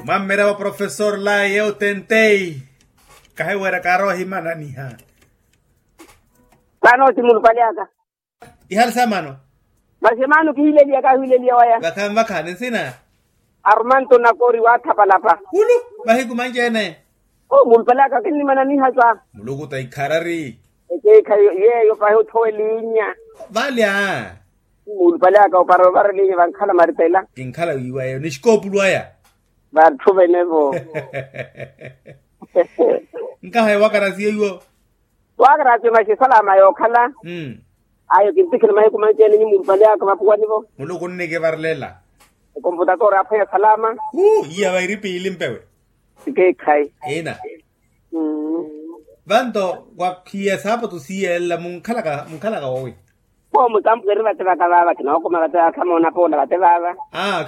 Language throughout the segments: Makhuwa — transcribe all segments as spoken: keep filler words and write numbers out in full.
Mwammerya wa profesor laye otentei. Kahiwerya kaarowa ohimananiha. Vano ti mulupale aka. Ihali samano. Masi emano kihileliya kahiwileliya waya. Vakhanvakha ni nsina. Arumanto nakori wathapalapa. Hulu. Mahiku manci-ene. O mulupale aka kinnimananiha sa. Muluku ta ikharari. Ekeekhayi yeeyo pahi othowelinya. Valya. Mulupale aka opara ovara elinya vankhala maritela. Kinkhala wiiwayo ni xikoopulu aya. Vatthu venevo. Nkahaye wakarasiye iwo. Wakarasiye masi esalama yookhala. Ayo kintikhela mahiku manci-ene nyi mulupale aka mapuwanivo. Muluku nnikivarelela. Ekomputatora aphwanya salama. Iya vairi piili mpewe. Sikeekhayi. Ina. Vanto wakhiya saapatu siiyelela munkhalaka munkhalaka woowi. Poo mutampu eri vate vaka vaava kinookuma vate vaava khamoona poola vate vaava. Aa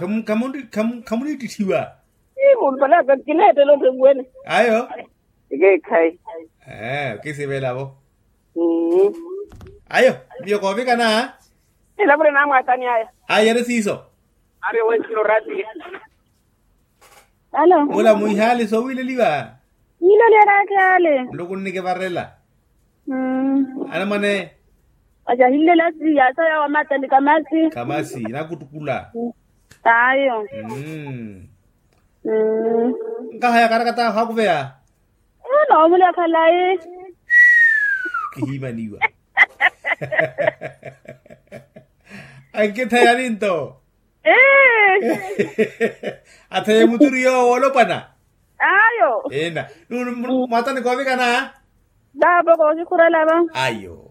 khamuniittithiwa. Ii muntolaka kineettela ottevuwene. Ayo. Ekeekhayi. Ee okisivelavo. Ayo. Miyo koovikana. Ela vule namwaatani aya. Ayo eri siiso. Ari wensiro rati. Alo. Mula muhihaali soowileliwa. Niloliyeraka ale. Muluku nnikivarela. Anamwane. Ajahilela siya saya wamata ni kamasi. Kamasi nakutukula. Ayo. Nkahaya karakata hakuveya. Noomulya khalayi. Kihimaniwa. Ankithayani nto. Atheye muturi yoowo olopwana. Ayo. Ena. Mwatani koovikana. Daapo kookikhurelava. Ayo.